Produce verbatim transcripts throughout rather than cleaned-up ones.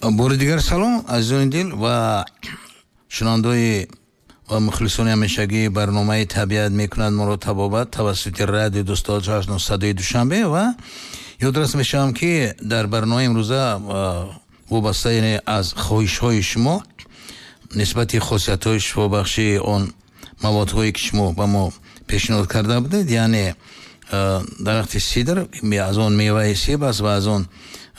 Бори дигар салом, азизони дил ва шунавандаҳои ва мухлисони ҳамешагии барномаи «Табиат мекунад моро табобат» тавассути радио Дӯст Садои Душанбе. Ва ёдрас мешавам, ки дар барномаи имрӯза вобаста, яъне аз хоҳишҳои шумо нисбати хосиятҳои шифобахшии он маводҳое, ки шумо ба мо пешниҳод карда будед, яъне дарахти сидр, аз он меваи себ аст ва аз он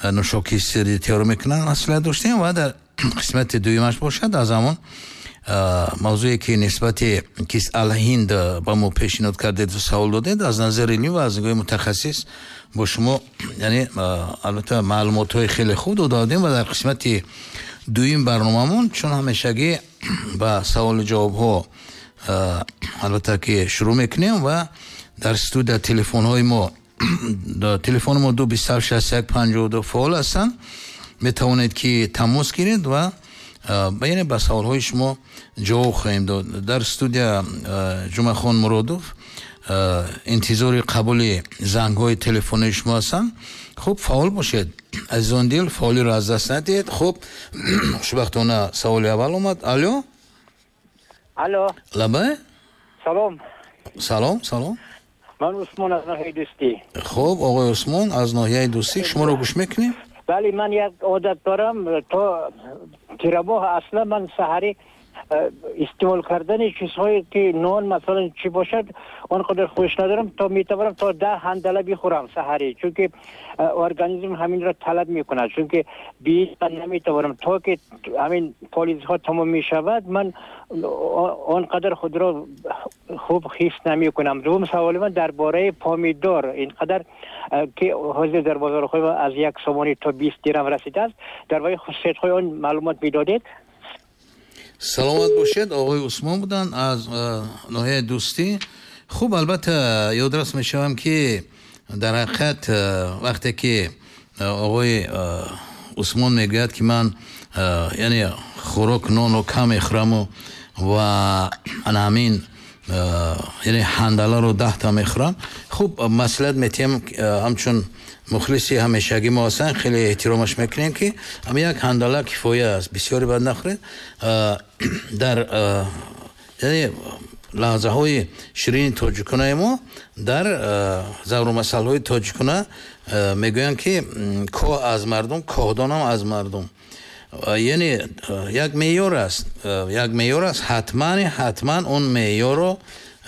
нӯшокии сирӣ тайёр мекунанд, маслиҳат доштем. Ва дар қисмати дуюмаш бошад, аз ҳамон мавзӯе, ки нисбати кист алҳинд ба мо пешниҳод кардед, савол додед, аз назари илмӣ ва аз нигоҳи мутахассис бо шумо, яъне албатта, маълумотҳои хеле хуб дода будем. Ва дар қисмати дуюм барномамон, чун ҳамешагӣ, ба саволу ҷавобҳо албатта ки шурӯъ мекунем. Ва дар студия телефонҳои мо, телефони мо ду бисту ҳафт шасту як панҷоҳу ду фаъол ҳастанд. Метавонед, ки тамос гиред ва яъне ба саволҳои шумо ҷавоб хоҳем дод. Дар студия Ҷумъахон Муродов интизори қабули зангҳои телефонии шумо ҳастанд. Хуб, фаъол бошед, азизон дил, фаъолиро аз даст надиҳед. Хуб, хушбахтона саволи аввал омад. Алло. Алло. Лабай. Салом. Салом, салом. Ман Усмон аз ноҳияи Дӯстӣ. Хуб, оқои Усмон аз ноҳияи Дӯстӣ, шуморо гӯш мекунем. Бале, ман як одат дорам, то тирамоҳ аслан ман саҳарӣ истеъмол кардани чизҳое, ки нон масалан чӣ бошад, он қадар хуш надорам. То метавонам то даҳ ҳандала бихӯрам саҳарӣ, чунки организм ҳаминро талаб мекунад, чунки бе ман наметавонам. То ки ҳамин полизҳо тамом мешавад, ман он қадар худро хуб ҳис намекунам. Дуввум саволи ман дар бораи помидор. Ин қадар ки ҳозир дар бозорҳои аз як сомонӣ то бист дирам расидааст, дар бораи хусусиятҳои он маълумот медодед. Саломат бошед. Оқои Усмон буданд аз ноҳияи Дӯстӣ. Хуб, албатта, ёдрас мешавам, ки дар ҳақиқат вақте ки оқои Усмон мегӯяд, ки ман яъне хӯрок, нонро кам мехӯраму ва ана ҳамин, яъне ҳандаларо даҳта мехӯрам, хуб, маслиҳат метиҳем, ҳамчун мухлиси ҳамешагӣ мо ҳастанд, хеле эҳтиромаш мекунем, ки ҳамин як ҳандала кифоя аст, бисёре бад нахӯред. Дар яъне лаҳзаҳои ширини тоҷиконаи мо, дар зарбулмасалҳои тоҷикона мегӯянд, ки коҳ аз мардум, коҳдонам аз мардум. Яъне як меъёр аст, як меъёр аст. Ҳатман, ҳатман он меъёрро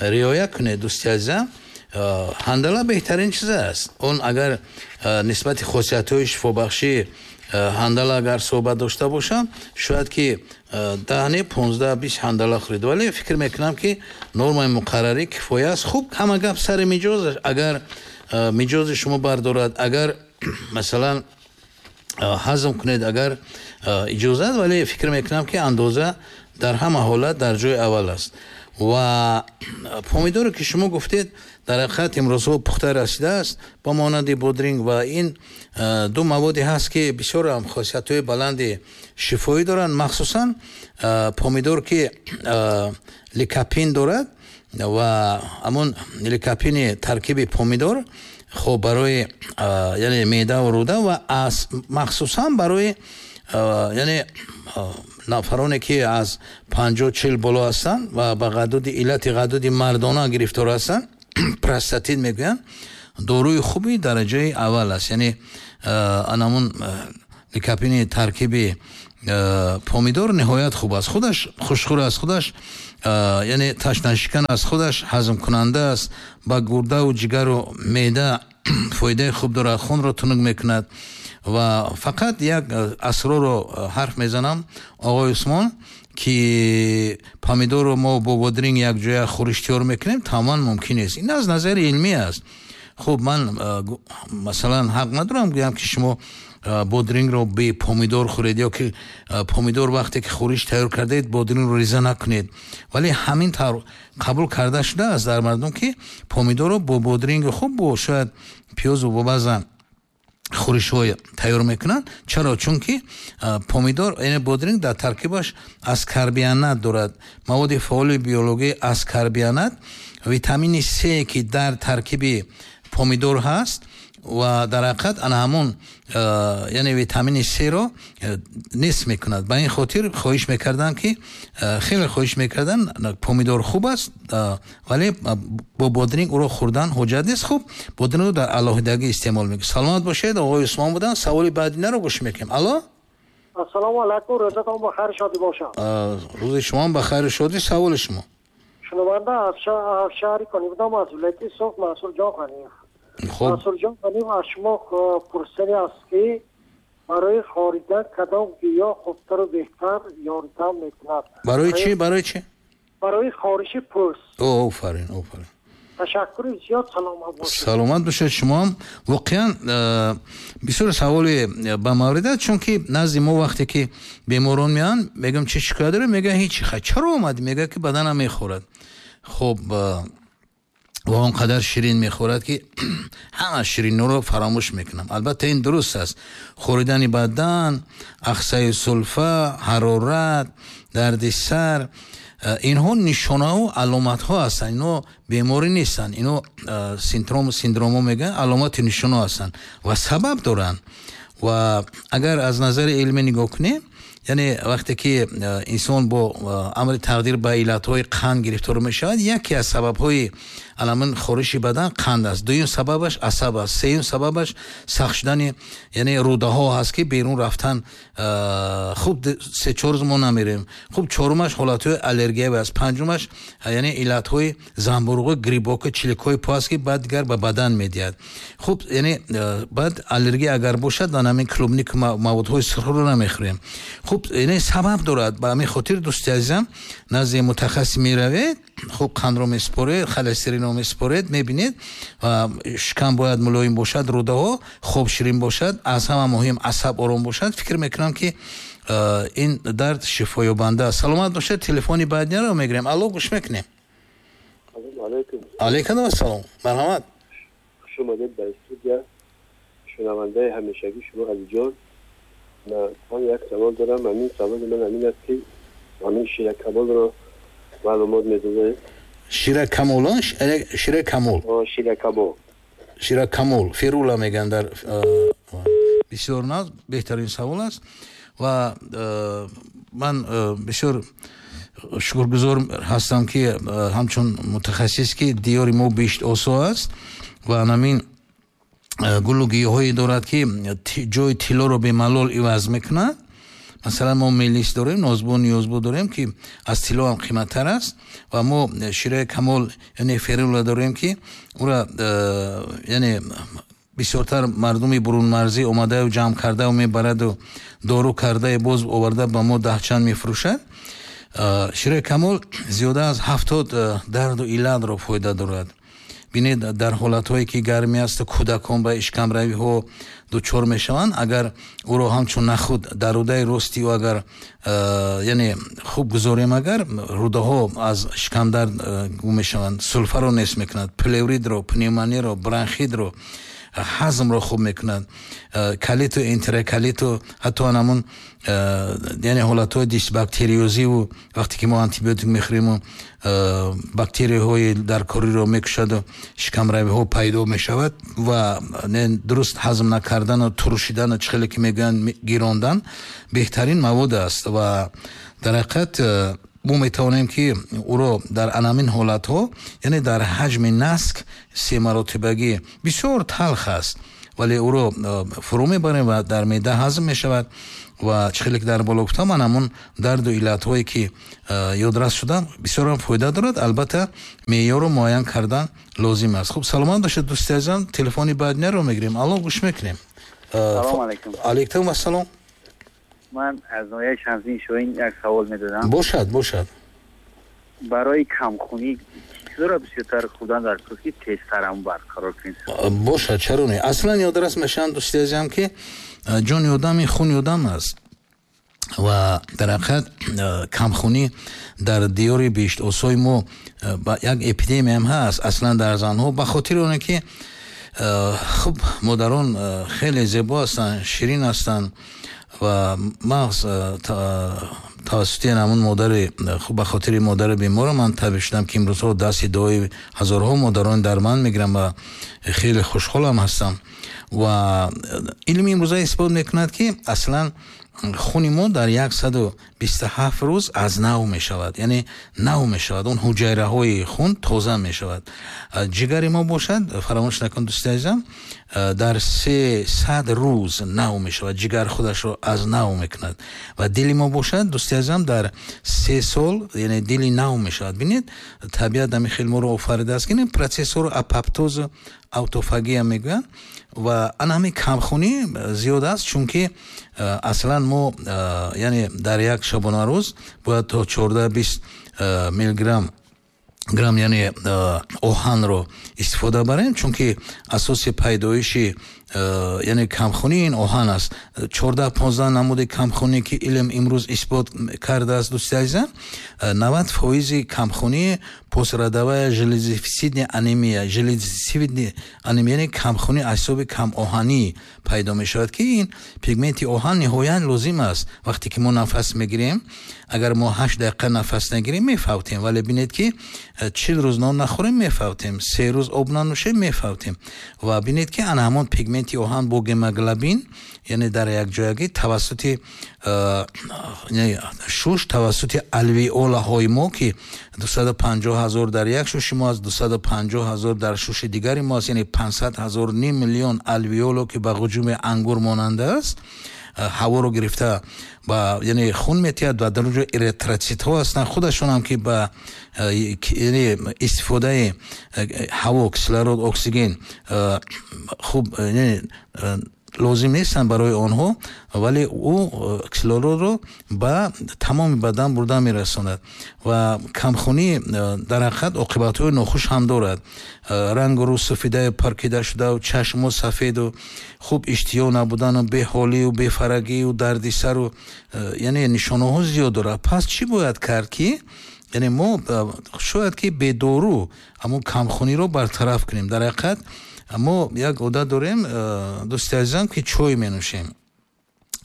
риоя кунед, дӯсти азизам. Ҳандала беҳтарин чиз аст. Он агар нисбати хосиятҳои шифобахшии ҳандала агар суҳбат дошта бошам, шояд ки даҳ, не, понздаҳ, бист ҳандала хӯред, вале фикр мекунам, ки нормаи муқаррарӣ кифоя аст. Хуб, ҳама гап сари миҷоз. Агар миҷози шумо бардорад, агар масалан ҳазм кунед, агар иҷозат, вале фикр мекунам, ки андоза дар ҳама ҳолат дар ҷои аввал аст. Ва помидоре, ки шумо гуфтед, дар ҳақиқат имрӯзҳо пухта расидааст, ба монанди бодринг, ва ин ду маводе ҳаст, ки бисёр ҳам хосиятҳои баланди шифоӣ доранд, махсусан помидор, ки ликопин дорад. Ва ҳамон ликопини таркиби помидор хуб барои яъне меъда ва рӯда ва махсусан барои яъне нафароне, ки аз панҷоҳ чил боло ҳастанд ва ба ғадуди, иллати ғадуди мардона гирифтор ҳастанд, простатит мегӯянд, доруи хуби дараҷаи аввал аст. Яъне анамун ликопини таркиби помидор ниҳоят хуб аст. Худаш хушхӯр аст, худаш яъне ташнашикан аст, худаш ҳазмкунанда аст, ба гурдаву ҷигару меъда фоидаи хуб дорад, хунро тунук мекунад. Ва фақат як асрорро ҳарф мезанам, оқои Усмон, ки помидорро мо бо бодринг якҷоя хӯриш тайёр мекунем, тамоман мумкин нест. Ин аз назари илмӣ аст. Хуб, ман масалан ҳақ надорам гӯям, ки шумо бодрингро бе помидор хӯред ё ки помидор, вақте ки хӯриш тайёр кардаед, бодрингро реза накунед, вале ҳамин тавр қабул карда шудааст дар мардум, ки помидорро бо бодринги хуб, бо шояд пиёзу бо баъзан хӯришҳо тайёр мекунанд. Чаро? Чунки помидор, яъне бодринг, дар таркибаш аскорбинат дорад, маводи фаъоли биологии аскорбинат, витамини С, ки дар таркиби помидор ҳаст. Ва дар ҳақиқат ана ҳамон Яъне витамини С-ро нест мекунад. Ба ин хотир хоҳиш мекардам, ки хеле хоҳиш мекардам, помидор хуб аст, вале бо бодринг ӯро хӯрдан ҳуҷҷат нест. Хуб, бодрингро дар алоҳидагӣ истеъмол мекунем. Саломат бошед, оғои Усмон буданд. Саволи баъдинаро гӯш мекунем. Алло, ассалому алайкум, рӯзатон ба хайр шодӣ бошад. Рӯзи шумо ба хайру шодӣ. Саволи шумо? Шунаванда аз шаҳри Конибодом, аз вилояти Суғд, Мансурҷон Ғаниев. Мансурҷон Ғаниев аз шумо пурсидани аст, ки барои хоридан кадом гиёҳ хубтару беҳтар ёрдам мекунад? Барои чӣ? Барои чӣ? Барои хориши пӯст. Офарин, офарин. Ташаккури зиёд, саломат бошед. Саломат бошед шумоам. Воқеан бисёр саволи ба маврид аст, чунки назди мо вақте ки беморон меоянд, мегӯям, чӣ шикоят доред? Мегӯянд, ҳеҷ. Хай, чаро омадӣ? Мегӯяд, ки баданам мехӯрад. Хуб, ва он қадар ширин мехӯрад, ки ҳама ширинҳоро фаромӯш мекунам. Албатта, ин дуруст аст. Хӯридани бадан, ахсаи сулфа, ҳарорат, дарди сар, инҳо нишонаву аломатҳо ҳастанд. Инҳо беморӣ нестанд, инҳо синдром, синдромҳо мегӯянд, аломати нишонаҳо ҳастанд ва сабаб доранд. Ва агар аз назари илмӣ нигоҳ кунем, яъне вақте ки инсон бо амри тақдир ба иллатҳои қанд гирифтор мешавад, яке аз сабабҳои аламин хориши бадан қанд аст, дуюм сабабаш асаб аст, сеюм сабабаш сахт шудани, яъне рӯдаҳо ҳаст, ки берун рафтан хуб се чор рӯз мо намерем. Хуб, чорумаш ҳолатҳои аллергиявӣ аст, панҷумаш яъне иллатҳои замбуруғи, грибоки, чиликҳои по аст, ки баъд дигар ба бадан медиҳад. Хуб, яъне баъд аллергия агар бошад, дан ҳамин клубник, маводҳои сурхро намехӯрем. Хуб, яъне сабаб дорад. Ба ҳамин хотир, дӯсти азизам, назди мутахассис меравед, хуб, қандро месупоред, холестеринро месупоред, мебинед, ва шикам бояд мулоим бошад, рӯдаҳо хоб ширин бошад, аз ҳама муҳим асаб ором бошад. Фикр мекунам, ки ин дард шифоёбанда аст. Саломат бошед. Телефони баъдиро мегирем. Алло, гӯш мекунем. Алайкум ассалом, марҳамат. Хуш омадед ба студия, шунавандаи ҳамешагӣ шумо, Алиҷон. Ман як савол дорам. Ҳамин саволи ман ҳамин аст, ки ҳамин ширакамолро маълумот медодед. Ширакамол? Ширакамол? Ширакамол. Ширакамол, ферула мегӯянд дар. Бисёр наз, беҳтарин савол аст ва ман бисёр шукргузор ҳастам, ки ҳамчун мутахассис, ки диёри мо биҳиштосо аст ва ҳамин гулу гиёҳое дорад, ки ҷои тиллоро бемалол иваз мекунад. Масалан, мо мелис дорем, нозбо, ниёзбо дорем, ки аз тилло ҳам қиматтар аст, ва мо шираи камол, яъне ферула дорем, ки ӯра яъне бисёртар мардуми бурунмарзӣ омадаю ҷамъ кардаю мебараду дору кардаю боз оварда ба мо даҳчанд мефурӯшад. Шираи камол зиёда аз ҳафтод дарду иллатро фоида дорад. Бинед, дар ҳолатҳое ки гармӣ асту кӯдакон ба ишкамравиҳо дучор мешаванд, агар ӯро ҳамчун нахуд дар рӯдаи рости ӯ агар яъне хуб гузорем, агар рӯдаҳо аз шикамдард гум мешаванд, сулфаро нест мекунад, плевритро, пневмониро, бронхитро, ҳазмро хуб мекунад, колиту, энтероколиту, ҳатто ҳамун яъне ҳолатҳои дисбактериозиву вақте ки мо антибиотик мехӯриму бактерияҳои даркориро мекушаду шикамравиҳо пайдо мешавад ва дуруст ҳазм накардану турушидану, чӣ хеле ки мегӯянд, гирондан, беҳтарин мавод аст. Ва дар ҳақиқат мо метавонем, ки ӯро дар анамин ҳолатҳо, яъне дар ҳаҷми наск се маротибагӣ, бисёр талх аст, вале ӯро фурӯ мебарем ва дар меъда ҳазм мешавад. Ва чӣ хеле ки дар боло гуфтам, ман ҳамун дарду иллатҳое ки ёдрас шудам, бисёрам фоида дорад. Албатта, меъёрро муайян кардан лозим аст. Хуб, саломат бошед, дӯсти азизам. Телефони баъдинаро мегирем. Алло, гӯш мекунем. Салом алайкум. Алайкум ассалом. Ман аз ноҳияи Шамсиддин Шоҳин як савол медодам. Бошад, бошад. Барои камхунӣ чизро бисёртар хӯрдан дар кор, ки тезтар ҳам барқарор кунем? Бошад, чаро не. Аслан ёдрас мешаванд, дӯсти азизам, ки ҷони одам ин хуни одам аст ва дар ҳақиқат камхунӣ дар диёри биҳиштосои мо як эпидемияам ҳаст, аслан дар занҳо, ба хотири оне ки хуб, модарон хеле зебо ҳастанд, ширин ҳастанд ва мағз тавассути ҳамун модари хуб, ба хотири модари бемора ман табиб шудам, ки имрӯзҳо дасти дуои ҳазорҳо модарон дар ман мегирам ва хеле хушҳолам ҳастам. Ва илми имрӯза исбот мекунад, ки аслан хуни мо дар яксаду бисту ҳафт рӯз аз нав мешавад, яъне нав мешавад, он ҳуҷайраҳои хун тоза мешавад. Ҷигари мо бошад, фаромӯш накун, дӯсти азизам, дар сесад рӯз нав мешавад, ҷигар худашро аз нав мекунад. Ва дили мо бошад, дӯсти азизам, дар се сол, яъне дили нав мешавад. Бинед, табиат ҳамин хел моро офаридааст, ки ин процессҳоро апоптозу аутофагия мегӯянд. Ва ана ҳамин камхунӣ зиёд аст, чунки аслан мо, яъне дар як шабонарӯз бояд то чордаҳ бист миллиграмм грамм, яъне оҳанро истифода барем, чунки асоси пайдоиши, яъне камхунӣ ин оҳан аст. Чордаҳ понздаҳ намуди камхунӣ, ки илм имрӯз исбот кардааст, дӯсти азизам, навад фоизи камхунӣ послеродовая железодефицитная анемия, железодефицитная анемия, яъне камхунӣ аз ҳисоби камоҳанӣ пайдо мешавад, ки ин пигменти оҳан ниҳоят лозим аст. Вақте ки мо нафас мегирем, агар мо ҳашт дақиқа нафас нагирем, мефавтем. Вале бинед, ки чил рӯз нон нахӯрем, мефавтем, се рӯз об нанӯшем, мефавтем. Ва бинед, ки ана ҳамон пигменти оҳан бо гемоглобин, яъне дар якҷоягӣ тавассути шуш, тавассути алвеолаҳои мо, ки дусаду панҷоҳ ҳазор дар як шуши мо аст, дусаду панҷоҳ ҳазор дар шуши дигари мо аст, яъне панҷсад ҳазор, ним миллион алвеоло, ки ба ҳуҷуми ангур монанда аст, ҳаворо гирифта ба, яъне хун метиҳад. Ва дар онҷо эритроцитҳо ҳастанд худашонам, ки ба, яъне истифодаи ҳаво, кислород, оксиген хуб, яъне лозим нестанд барои онҳо, вале ӯ кислородро ба тамоми бадан бурда мерасонад. Ва камхунӣ дар ҳақиқат оқибатҳои нохуш ҳам дорад: рангу рӯ суфидаю паркида шудау, чашму сафеду, хуб иштиҳо набудану, беҳолию бефарагию, дарди сару, яъне нишонаҳо зиёд дорад. Пас чӣ бояд кард, ки яъне мо шояд ки бедору ҳамон камхуниро бартараф кунем? Дар ҳақиқат мо як одат дорем, дӯсти азизам, ки чой менӯшем.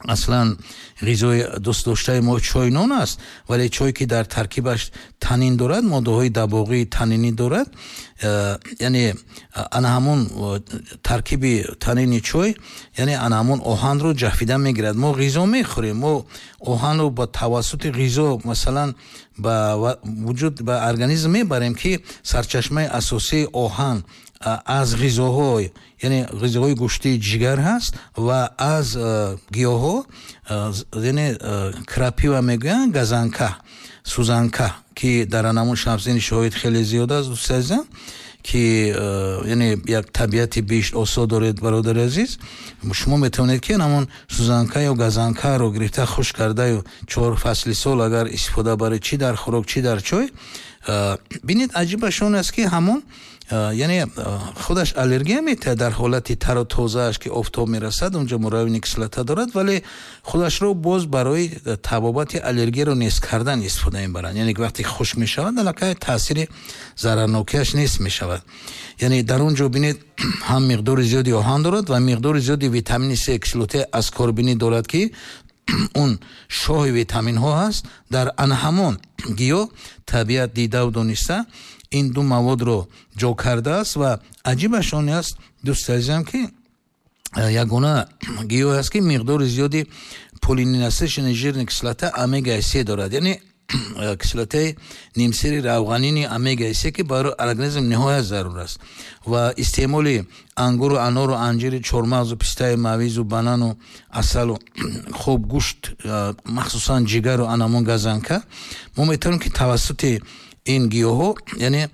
Аслан ғизои дӯстдоштаи мо чой нон аст, вале чой, ки дар таркибаш танин дорад, моддаҳои дабоғии танинӣ дорад, яъне ана ҳамон таркиби танини чой, яъне ана ҳамон оҳанро ҷафида мегирад. Мо ғизо мехӯрем, мо оҳанро ба тавассути ғизо, масалан, ба вуҷуд, ба организм мебарем, ки сарчашмаи асосии оҳан аз ғизоҳо, яъне ғизоҳои гӯштии ҷигар ҳаст ва аз гиёҳҳо, яъне крапива мегӯянд, газанка, сузанка, ки дар анамун Шамсиддини Шоҳид хеле зиёд аст. Дӯсти азизам, ки яъне як табиати бишт осо доред, бародари азиз, шумо метавонед, ки ҳамон сузанка ё газанкаро гирифта, хушк кардаю чор фасли сол агар истифода баред, чӣ дар хӯрок, чӣ дар чой. Бинед, аҷибаш он аст, ки ҳамон, яъне худаш аллергия метиҳад дар ҳолати тару тозааш, ки офтоб мерасад, унҷо муравини кислота дорад, вале худашро боз барои табобати аллергияро нест кардан истифода мебаранд. Яъне вақте хушк мешавад, аллакай таъсири зарарнокиаш нест мешавад. Яъне дар он ҷо бинед, ҳам миқдори зиёди оҳан дорад ва миқдори зиёди витамини С, кислотаи аскорбинӣ дорад, ки он шоҳи витаминҳо ҳаст. Дар ана ҳамон гиёҳ табиат дидаву дониста ин ду маводро ҷо кардааст. Ва аҷибаш он аст, дӯсти азизам, ки ягона гиёҳ аст, ки миқдори зиёди полиненасыщенная жирная кислота омегаи се дорад, яъне кислотаи нимсири равғанини омегаи се, ки барои организм ниҳоят зарур аст. Ва истеъмоли ангуру анору анҷири, чормағзу пистаи мавизу банану асалу, хуб, гӯшт, махсусан ҷигару анамон газанка, мо метавонем, ки тавассути ин гиёҳҳо, яъне